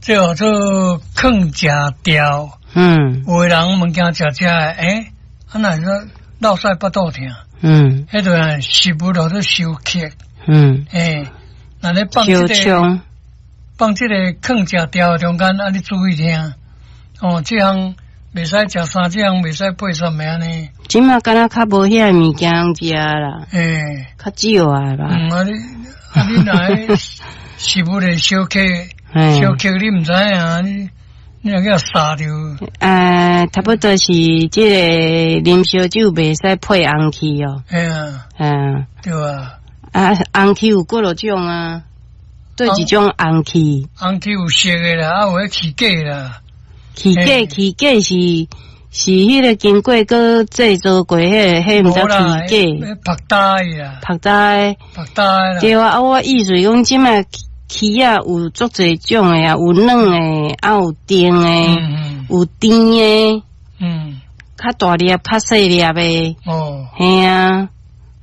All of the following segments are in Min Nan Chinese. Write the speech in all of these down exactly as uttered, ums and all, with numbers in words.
這號做囥食調。嗯。有的人物件食食的，欸，啊若是說落屎腹肚疼。嗯。彼就食物落做收克。嗯。欸，若咧放這個，放這個囥食調的中間，啊，你注意聽。哦，這項袂使食啥，這項袂使配啥物按呢？這馬敢若較無遐物件食啦。欸，較少啊吧。嗯，啊你啊你若食物的小克，小克你毋知影，你你若叫殺著。呃，差不多是這個啉燒酒袂使配紅氣哦。嘿啊。嗯。對啊。啊，紅氣有幾落種啊？佗一種紅氣。紅氣有色的啦，啊有彼氣果啦。氣果氣果是是彼個經過閣製造過彼個，彼毋知氣果。曝焦的啦。曝焦的。曝焦的啦。對啊，啊我意思講，這馬起仔有足濟種的啊，有軟的，啊有甜的，有甜的，嗯，較大粒、較細粒的。哦。嘿啊，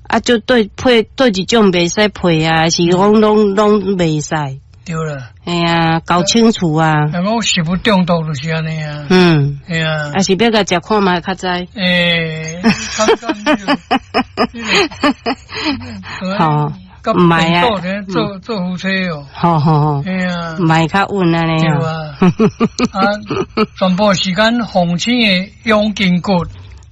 啊就對配佗一種袂使配啊，是講攏攏袂使。對啦。嘿啊，搞清楚啊！人講食物中毒就是按呢啊。嗯。嘿啊。啊是欲共食看覓較知。欸，好，毋係啊。做做夫妻哦。好好好。嘿啊。毋係較穩按呢。對啊。啊，全部時間鳳青的養筋骨。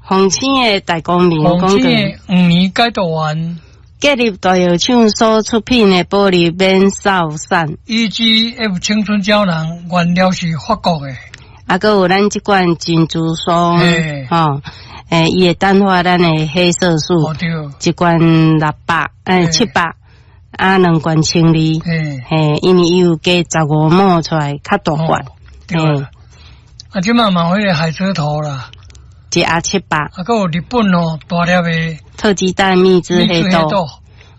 鳳青的大光明。鳳青的黃連解毒丸。建立大藥廠所出品的保利免掃散，E G F 青春膠囊原料是法國的。啊，閣有咱這罐珍珠霜，吼，欸，伊會淡化咱的黑色素。哦，對。一罐六百，欸，七百，啊，兩罐千二，嘿，因為伊有加十五毫出來，較大罐。對。啊，這馬嘛有彼個海蜇頭啦。一盒七百。啊，閣有日本哦，大粒的。特級蛋蜜汁黑豆。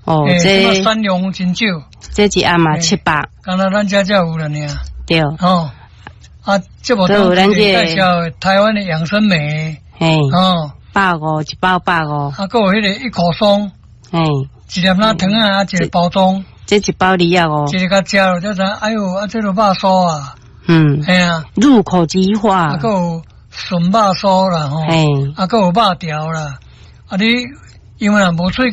哦，這產量真少。這一盒嘛七百。敢若咱遮才有了爾。對。哦，啊，這無當介紹台灣的養生莓。嘿。哦。百五一包百五。啊，閣有彼個一口霜。嘿。一粒仔糖仔啊，一個包裝。這一包二十五。一个共食了才知，哎喲，啊，這个肉酥啊。嗯。嘿啊。入口即化。啊，閣有筍肉酥啦，吼。嘿。啊，閣有肉條啦。啊，你因為若無喙